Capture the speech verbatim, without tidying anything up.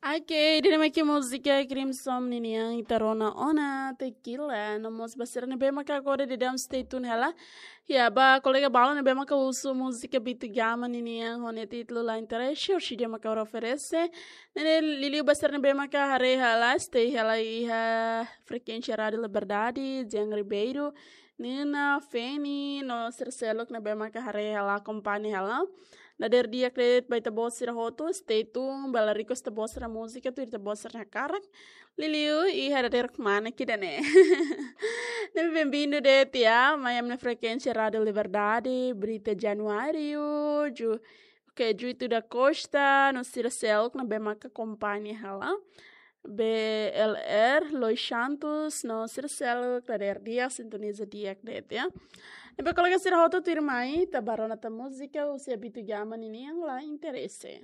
Ok, ida-ne'e mak múzika Crimson ninian ita rona ona Tequila. No mós ba sira ne'ebé maka agora daudaun stay tune hela. Ya, ba kolega balu ne'ebé maka husu múzika Bitu Gama ninian ho nia títulu La Interesse, orsida maka ha'u oferese. Ne'e liuliu ba sira ne'ebé maka haree hela, stay hela iha frekuénsia Rádiu Liberdade, Jean Ribeiro, Nina, Feni, no sira seluk ne'ebé maka haree hela, akompaña hela. Dadeer di'ak de'it ba ita-boot sira hotu, stay tune, ba la request ita-boot sira múzika, tuir ita-boot sira-nia hakarak. Liuliu iha dadeer kmanek ida-ne'e. Ne'ebé bem-vindo de'it, ya, mai ami-nia frekuénsia Rádiu Liberdade, Brita Januário, Ju, ok, Juito da Costa, no sira seluk ne'ebé maka akompaña hela. B L R, Lois Santos, no sira seluk, dadeer di'ak, sintoniza di'ak de'it, ya. Ne'ebé kolega sira hotu tuirmai, ita bá rona tan múzika, husi Bitu Gama ninian La Interesse.